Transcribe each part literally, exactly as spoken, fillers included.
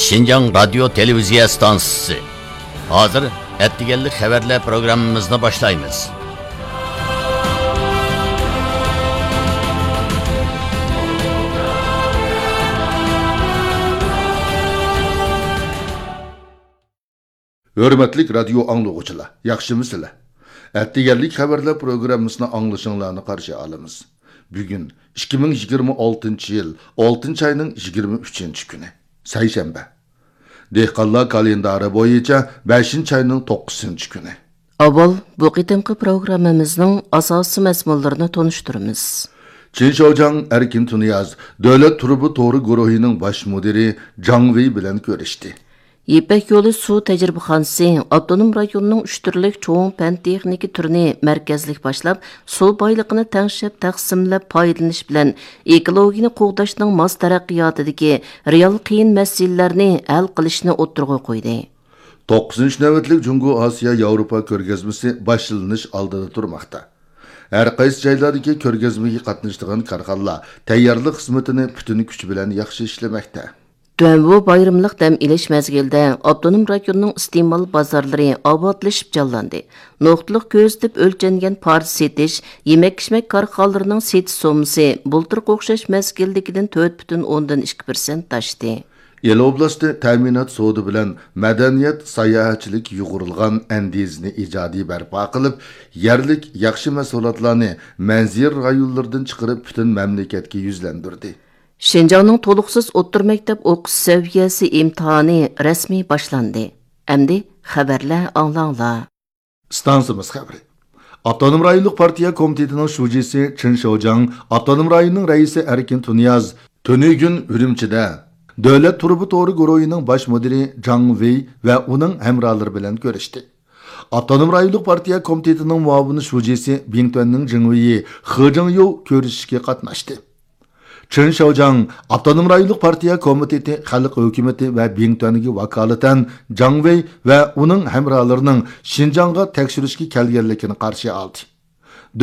شىنجاڭ رادىيو تېلېۋىزىيە ئىستانسىسى. ھازىر ئەتىگەنلىك خەۋەرلەر پروگراممىمىزنى باشلايمىز. ھۆرمەتلىك رادىيو ئاڭلىغۇچىلار، ياخشىمۇسىلەر؟ ئەتىگەنلىك خەۋەرلەر پروگراممىسىنى ئاڭلىشىڭلارنى قارشى ئالىمىز. بۈگۈن ئىككى مىڭ يىگىرمە ئالتىنچى يىل ئالتىنچى ئاينىڭ يىگىرمە ئۈچىنچى كۈنى، سەيشەنبە. دېھقانلار كالېندارى بويىچە بەشىنچى ئاينىڭ توققۇزىنچى كۈنى. ئاۋۋال بۇ قېتىمقى پروگراممىمىزنىڭ ئاساسىي مەزمۇنلىرىنى تونۇشتۇرىمىز. چېن شياۋجياڭ ئەركىن تۇنىياز دۆلەت تۇرۇبا تورى گۇرۇھىنىڭ باش مۇدىرى جاڭ ۋېي بىلەن كۆرۈشتى. يىپەك يولى سۇ تەجرىبىخانىسى ئاپتونوم رايوننىڭ ئۈچ تۈرلۈك چوڭ پەن تېخنىكا تۈرىنى مەركەزلىك باشلاپ، سۇ بايلىقىنى تەڭشەپ تەقسىملەپ پايدىلىنىش بىلەن ئېكولوگىيەنى قوغداشنىڭ ماس تەرەققىياتىدىكى رېئال قىيىن مەسىلىلەرنى ھەل قىلىشنى ئوتتۇرىغا قويدى. توققۇزىنچى نۆۋەتلىك جۇڭگو ئاسىيا ياۋروپا كۆرگەزمىسى باشلىنىش ئالدىدا تۇرماقتا. ھەر قايسى جايلاردىكى كۆرگەزمىگە قاتنىشىدىغان كارخانىلار تەييارلىق خىزمىتىنى پۈتۈن كۈچ بىلەن ياخشى ئىشلىمەكتە. تۆۋەن بۇ بايراملىق دەم ئېلىش مەزگىلىدە ئاپتونوم رايوننىڭ ئىستېمال بازارلىرى ئاۋاتلىشىپ جانلاندى. نۇقتىلىق كۆزىتىپ ئۆلچەنگەن پارچە سېتىش، يېمەك-ئىچمەك كارخانىلىرىنىڭ سېتىش سوممىسى بۇلتۇرقى ئوخشاش مەزگىلدىكىدىن تۆت پۈتۈن ئوندىن ئىككى پىرسەنت ئاشتى. ئىلى ئوبلاستى تەمىنات سودا بىلەن مەدەنىيەت، ساياھەتچىلىك يۇغۇرۇلغان ئەندىزىنى ئىجادىي بەرپا قىلىپ، يەرلىك ياخشى مەھسۇلاتلارنى مەنزىرە رايونلىرىدىن چىقىرىپ پۈتۈن مەملىكەتكە يۈزلەندۈردى. شىنجاڭنىڭ تولۇقسىز ئوتتۇرا مەكتەپ ئوقۇش سەۋىيەسى ئىمتىھانى رەسمىي باشلاندى. ئەمدى خەۋەرلەر ئاڭلاڭلار. ئىستانسىمىز خەۋىرى. ئاپتونوم رايونلۇق پارتىيە كومىتېتىنىڭ شۇجىسى چېن شياۋجياڭ، ئاپتونوم رايوننىڭ رەئىسى ئەركىن تۇنىياز تۈنۈگۈن ئۈرۈمچىدە دۆلەت تۇرۇبا تورى گۇرۇھىنىڭ باش مۇدىرى جاڭ ۋېي ۋە ئۇنىڭ ھەمراھلىرى بىلەن كۆرۈشتى. ئاپتونوم رايونلۇق پارتىيە كومىتېتىنىڭ مۇئاۋىن شۇجىسى بىڭتۈەننىڭ جېڭۋېيى خې جىڭيۇ كۆرۈشۈشكە قاتناشتى. چېن شياۋجياڭ ئاپتونوم رايونلۇق پارتىيە كومىتېتى، خەلق ھۆكۈمىتى ۋە بىڭتۈەنگە ۋاكالىتەن جاڭ ۋېي ۋە ئۇنىڭ ھەمراھلىرىنىڭ شىنجاڭغا تەكشۈرۈشكە كەلگەنلىكىنى قارشى ئالدى.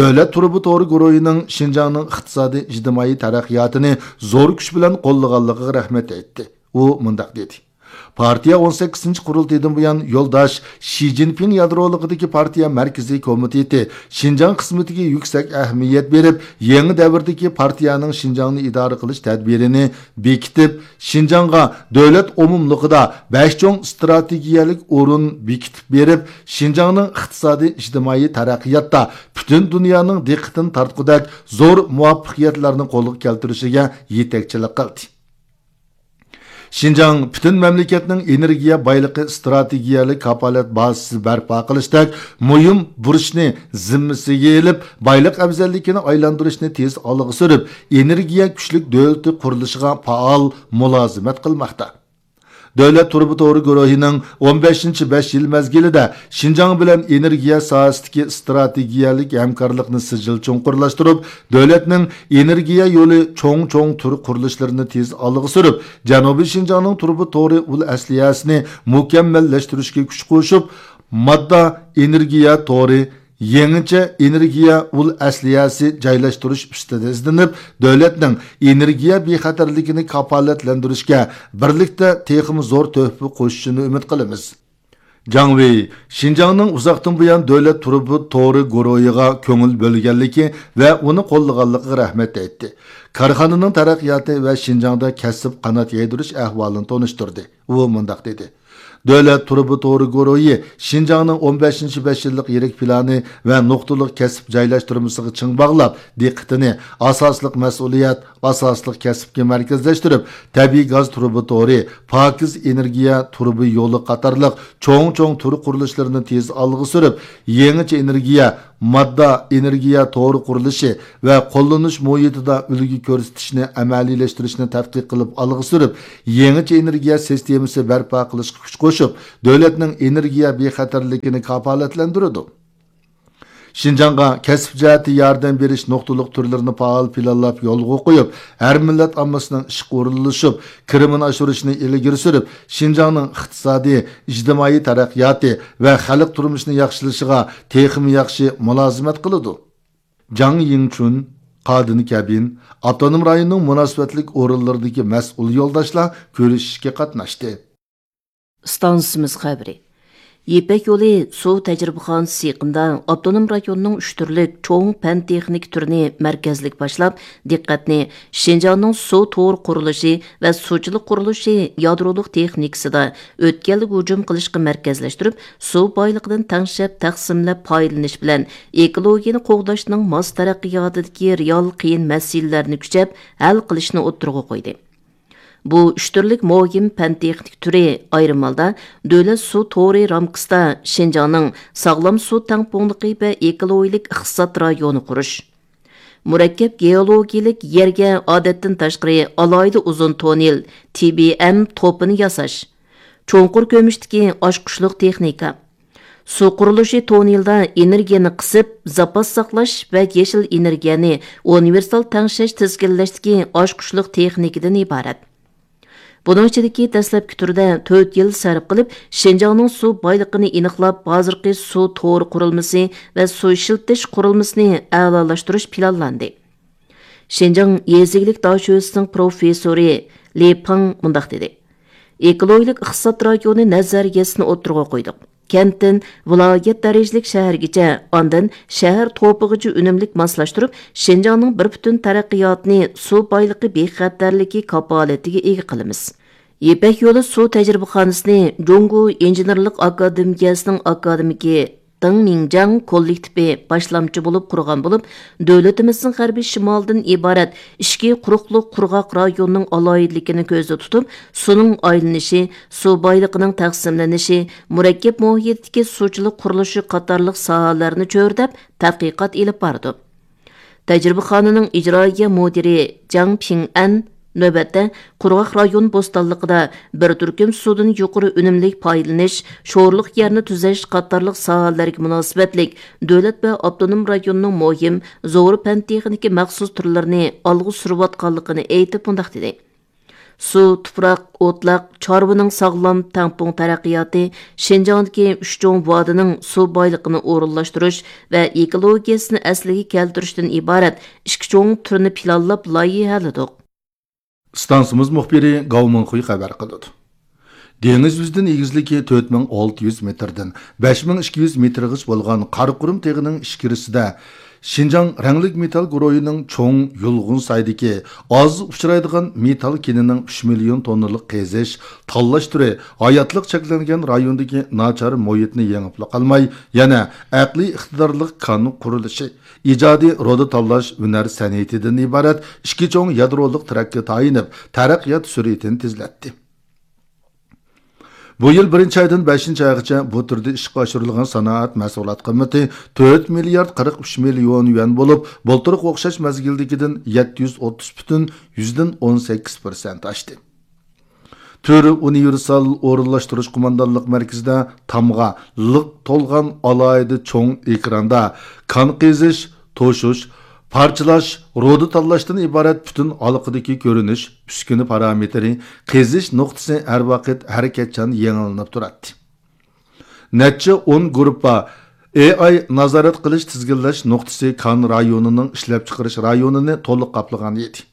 دۆلەت تۇرۇبا تورى گۇرۇھىنىڭ شىنجاڭنىڭ ئىقتىسادىي، ئىجتىمائىي تەرەققىياتىنى زور كۈچ بىلەن قوللىغانلىقىغا رەھمەت ئېيتتى. ئۇ مۇنداق دېدى: پارتىيە ئون سەككىزىنچى قۇرۇلتىيىدىن بۇيان يولداش شى جىنپىڭ يادرولۇقىدىكى پارتىيە مەركىزىي كومىتېتى شىنجاڭ خىزمىتىگە يۈكسەك ئەھمىيەت بېرىپ، يېڭى دەۋردىكى پارتىيەنىڭ شىنجاڭنى ئىدارە قىلىش تەدبىرىنى بېكىتىپ، شىنجاڭغا دۆلەت ئومۇملۇقىدا بەش چوڭ ئىستراتېگىيەلىك ئورۇن بېكىتىپ بېرىپ، شىنجاڭنىڭ ئىقتىسادىي، ئىجتىمائىي تەرەققىياتتا پۈتۈن دۇنيانىڭ دىققىتىنى تارتقۇدەك زور مۇۋەپپەقىيەتلەرنى قولغا كەلتۈرۈشىگە يېتەكچىلىك قىلدى. شىنجاڭ پۈتۈن مەملىكەتنىڭ ئېنېرگىيە بايلىقى ئىستراتېگىيەلىك كاپالەت بازىسى بەرپا قىلىشتەك مۇھىم بۇرچنى زىممىسىگە ئېلىپ، بايلىق ئەۋزەللىكىنى ئايلاندۇرۇشنى تېز ئالغا سۈرۈپ، ئېنېرگىيە كۈچلۈك دۆلىتى قۇرۇلۇشىغا پائال مۇلازىمەت قىلماقتا. دۆلەت تۇرۇبا تورى گۇرۇھىنىڭ ئون بەشىنچى بەش يىل مەزگىلىدە شىنجاڭ بىلەن ئېنېرگىيە ساھەسىدىكى ئىستراتېگىيەلىك ھەمكارلىقنى سىجىل چوڭقۇرلاشتۇرۇپ، دۆلەتنىڭ ئېنېرگىيە يولى چوڭ-چوڭ تۈر قۇرۇلۇشلىرىنى تېز ئالغا سۈرۈپ، جەنۇبىي شىنجاڭنىڭ تۇرۇبا تورى ئۇل ئەسلىھەسىنى مۇكەممەللەشتۈرۈشكە كۈچ قوشۇپ، ماددا ئېنېرگىيە تورى، يېڭىچە ئېنېرگىيە ئۇل ئەسلىھەسى جايلاشتۇرۇش ئۈستىدە ئىزدىنىپ، دۆلەتنىڭ ئېنېرگىيە بىخەتەرلىكىنى كاپالەتلەندۈرۈشكە بىرلىكتە تېخىمۇ زور تۆھپە قوشۇشىنى ئۈمىد قىلىمىز. جاڭ ۋېي شىنجاڭنىڭ ئۇزاقتىن بۇيان دۆلەت تۇرۇبا تورى گۇرۇھىغا كۆڭۈل بۆلگەنلىكى ۋە ئۇنى قوللىغانلىقىغا رەھمەت ئېيتتى. كارخانىنىڭ تەرەققىياتى ۋە شىنجاڭدا كەسىپ قانات يايدۇرۇش ئەھۋالىنى تونۇشتۇردى. ئۇ مۇنداق دېدى: دۆلەت تۇرۇبا تورى گۇرۇھى شىنجاڭنىڭ ئون بەشىنچى بەش يىللىق يىرىك پىلانى ۋە نۇقتىلىق كەسىپ جايلاشتۇرمىسىغا چىڭ باغلاپ، دىققىتىنى ئاساسلىق مەسئۇلىيەت، ئاساسلىق كەسىپكە مەركەزلەشتۈرۈپ، تەبىئىي گاز تۇرۇبا تورى، پاكىز ئېنېرگىيە تۇرۇبا يولى قاتارلىق چوڭ-چوڭ تۈر قۇرۇلۇشلىرىنى تېز ئالغا سۈرۈپ، يېڭىچە ئېنېرگىيە، ماددا ئېنېرگىيە تورى قۇرۇلۇشى ۋە قوللىنىش مۇھىتىدا ئۈلگە كۆرسىتىشنى ئەمەلىيلەشتۈرۈشنى تەتقىق قىلىپ ئالغا سۈرۈپ، يېڭىچە ئېنېرگىيە سىستېمىسى بەرپا قىلىشقا كۈچ قوشۇپ، دۆلەتنىڭ ئېنېرگىيە بىخەتەرلىكىنى كاپالەتلەندۈرىدۇ. شىنجاڭغا كەسىپ جەھەتتە ياردەم بېرىش نۇقتىلىق تۈرلىرىنى پائال پىلانلاپ يولغا قويۇپ، ھەر مىللەت ئاممىسىنىڭ ئىشقا ئورۇنلىشىپ، كىرىمىنى ئاشۇرۇشىنى ئىلگىرى سۈرۈپ، شىنجاڭنىڭ ئىقتىسادىي، ئىجتىمائىي تەرەققىياتى ۋە خەلق تۇرمۇشىنى ياخشىلىشىغا تېخىمۇ ياخشى مۇلازىمەت قىلىدۇ. جاڭ يىڭچۈن، قادىن كەبىن، ئاپتونوم رايوننىڭ مۇناسىۋەتلىك ئورۇنلىرىدىكى مەسئۇل يولداشلار كۆرۈشۈشكە قاتناشتى. ئىستانسىمىز خەۋىرى. يىپەك يولى سۇ تەجرىبىخانىسى يېقىندا ئاپتونوم رايوننىڭ ئۈچ تۈرلۈك چوڭ پەن تېخنىكا تۈرىنى مەركەزلىك باشلاپ، دىققەتنى شىنجاڭنىڭ سۇ تورى قۇرۇلۇشى ۋە سۇچىلىق قۇرۇلۇشى يادرولۇق تېخنىكىسىدا ئۆتكەلگە ھۇجۇم قىلىشقا مەركەزلەشتۈرۈپ، سۇ بايلىقىدىن تەڭشەپ تەقسىملەپ پايدىلىنىش بىلەن ئېكولوگىيەنى قوغداشنىڭ ماس تەرەققىياتىدىكى رېئال قىيىن مەسىلىلەرنى كۈچەپ ھەل قىلىشنى ئوتتۇرىغا قويدى. بۇ ئۈچ تۈرلۈك مۇھىم پەن تېخنىك تۈرى ئايرىم ھالدا دۆلەت سۇ تورى رامكىسىدا شىنجاڭنىڭ ساغلام سۇ تەڭپۇڭلۇقى ۋە ئېكولوگىيەلىك ئىقتىساد رايونى قۇرۇش، مۇرەككەپ گېئولوگىيەلىك يەرگە ئادەتتىن تاشقىرى ئالاھىدە ئۇزۇن توننېل، تى بى ئېم توپىنى ياساش، چوڭقۇر كۆمۈشتىكى ئاچقۇچلۇق تېخنىكا، سۇ قۇرۇلۇشى توننېلدا ئېنېرگىيەنى قىسىپ، زاپاس ساقلاش ۋە يېشىل ئېنېرگىيەنى ئۇنىۋېرسال تەڭشەش تىزگىنلەشتىكى ئاچقۇچلۇق تېخنىكىدىن ئىبارەت. بۇنىڭ ئىچىدىكى دەسلەپكى تۈردە تۆت يىل سەرپ قىلىپ، شىنجاڭنىڭ سۇ بايلىقىنى ئېنىقلاپ، ھازىرقى سۇ تورى قۇرۇلمىسى ۋە سۇ ئىشلىتىش قۇرۇلمىسىنى ئەلالاشتۇرۇش پىلانلاندى. شىنجاڭ يېزا ئىگىلىك داشۆسىنىڭ پروفېسسورى لى پېڭ مۇنداق دېدى: ئېكولوگىيەلىك ئىقتىساد رايونى نەزەرىيەسىنى ئوتتۇرىغا قويدۇق. كەنتتىن ۋىلايەت دەرىجىلىك شەھەرگىچە، ئاندىن شەھەر توپىغىچە ئۈنۈملۈك ماسلاشتۇرۇپ، شىنجاڭنىڭ بىر پۈتۈن تەرەققىياتىنى سۇ بايلىقى بىخەتەرلىكى كاپالىتىگە ئىگە قىلىمىز. يىپەك يولى سۇ تەجرىبىخانىسىنى جۇڭگو ئىنژېنېرلىق ئاكادېمىيەسىنىڭ ئاكادېمىكى دېڭ مىڭجياڭ كوللېكتىپى باشلامچى بولۇپ قۇرغان بولۇپ، دۆلىتىمىزنىڭ غەربىي شىمالىدىن ئىبارەت ئىچكى قۇرۇقلۇق قۇرغاق رايونىنىڭ ئالاھىدىلىكىنى كۆزدە تۇتۇپ، سۇنىڭ ئايلىنىشى، سۇ بايلىقىنىڭ تەقسىملىنىشى، مۇرەككەپ مۇھىتتىكى سۇچىلىق قۇرۇلۇشى قاتارلىق ساھەلەرنى چۆرىدەپ تەتقىقات ئېلىپ بارىدۇ. تەجرىبىخانىنىڭ ئىجرائىيە مۇدىرى جاڭ پىڭئەن نۆۋەتتە قۇرغاق رايون بوستانلىقىدا بىر تۈركۈم سۇدىن يۇقىرى ئۈنۈملۈك پايدىلىنىش، شورلۇق يەرنى تۈزەش قاتارلىق ساھەلەرگە مۇناسىۋەتلىك دۆلەت ۋە ئاپتونوم رايوننىڭ مۇھىم زور پەن تېخنىكا مەخسۇس تۈرلىرىنى ئالغا سۈرۈۋاتقانلىقىنى ئېيتىپ مۇنداق دېدى: سۇ، تۇپراق، ئوتلاق، چارۋىنىڭ ساغلام، تەڭپۇڭ تەرەققىياتى، شىنجاڭدىكى ئۈچ چوڭ ۋادىنىڭ سۇ بايلىقىنى ئورۇنلاشتۇرۇش ۋە ئېكولوگىيەسىنى ئەسلىگە كەلتۈرۈشتىن ئىبارەت ئىككى چوڭ تۈرنى پىلانلاپ لايىھەلىدۇق. ئىستانسىمىز مۇخبىرى گاۋ مىڭخۇي خەۋەر قىلىدۇ. دېڭىز يۈزىدىن ئېگىزلىكى تۆت مىڭ ئالتە يۈز مېتىردىن بەش مىڭ ئىككى يۈز مېتىرغىچە بولغان قاراقۇرۇم تېغىنىڭ ئىچكىرىسىدە شىنجاڭ رەڭلىك مېتال گۇرۇھىنىڭ چوڭ يۇلغۇن سايدىكى ئاز ئۇچرايدىغان مېتال كېنىنىڭ ئۈچ مىليون توننىلىق قېزىش، تاللاش تۈرى ھاياتلىق چەكلەنگەن رايوندىكى ناچار مۇھىتنى يېڭىپلا قالماي، يەنە ئەقلىي ئىقتىدارلىق كان قۇرۇلۇشى، ئىجادىي رۇدا تاللاش ھۈنەر سەنئىتىدىن ئىبارەت ئىككى چوڭ يادرولۇق تىرەككە تايىنىپ، تەرەققىيات سۈرئىتىنى تېزلەتتى. بۇ يىل بىرىنچى ئايدىن بەشىنچى ئايغىچە بۇ تۈردە ئىشقا ئاشۇرۇلغان سانائەت مەھسۇلات قىممىتى تۆت مىليارد قىرىق ئۈچ مىليون يۈەن بولۇپ، بۇلتۇرقى ئوخشاش مەزگىلدىكىدىن يەتتە يۈز ئوتتۇز پۈتۈن يۈزدىن ئون سەككىز پىرسەنت ئاشتى. تۈر ئۇنىۋېرسال ئورۇنلاشتۇرۇش قوماندانلىق مەركىزىدە تامغا لىق تولغان ئالاھىدە چوڭ ئېكراندا كان قېزىش، توشۇش، پارچىلاش، رۇدا تاللاشتىن ئىبارەت پۈتۈن ھالقىدىكى كۆرۈنۈش، ئۈسكۈنە پارامېتىرى، قېزىش نۇقتىسى ھەر ۋاقىت ھەرىكەتچان يېڭىلىنىپ تۇراتتى. نەچچە ئون گۇرۇپپا ئېي ئاي نازارەت قىلىش تىزگىنلەش نۇقتىسى كان رايونىنىڭ ئىشلەپچىقىرىش رايونىنى تولۇق قاپلىغان ئىدى.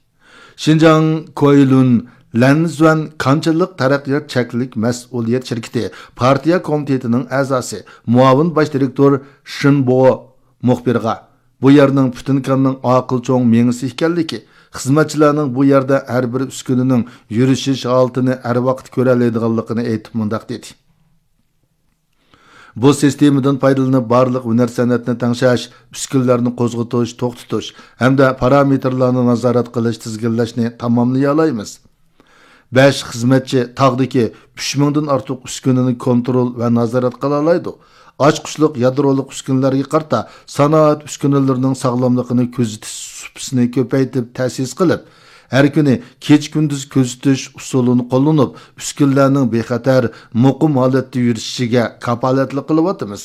شىنجاڭ كويلۇن لەنزۈەن كانچىلىق تەرەققىيات چەكلىك مەسئۇلىيەت شىركىتى پارتىيە كومىتېتىنىڭ ئەزاسى، مۇئاۋىن باش دىرېكتور شېن بو مۇخبىرغا بۇ يەرنىڭ پۈتۈن كاننىڭ ئاقىل چوڭ مېڭىسى ئىكەنلىكى، خىزمەتچىلەرنىڭ بۇ يەردە ھەر بىر ئۈسكۈنىنىڭ يۈرۈشۈش ھالىتىنى ھەر ۋاقىت كۆرەلەيدىغانلىقىنى ئېيتىپ مۇنداق دېدى. بۇ سىستېمىدىن پايدىلىنىپ، بارلىق ھۈنەر سەنئەتنى تەڭشەش، ئۈسكۈنىلەرنى قوزغىتىش، توختىتىش ھەمدە پارامېتىرلارنى نازارەت قىلىش، تىزگىنلەشنى تاماملىيالايمىز. بەش خىزمەتچى تاغدىكى ئۈچ مىڭدىن ئارتۇق ئۈسكۈنىنى كونترول ۋە نازارەت قىلالايدۇ. ئاچقۇچلۇق يادرولۇق ئۈسكۈنىلەرگە قارىتا سانائەت ئۈسكۈنىلىرىنىڭ ساغلاملىقىنى كۆزىتىش سۇپىسىنى كۆپەيتىپ تەسىس قىلىپ، ھەر كۈنى كېچە-كۈندۈز كۆزىتىش ئۇسۇلىنى قوللىنىپ، ئۈسكۈنىلەرنىڭ بىخەتەر، مۇقىم ھالەتتە يۈرۈشۈشىگە كاپالەتلىك قىلىۋاتىمىز.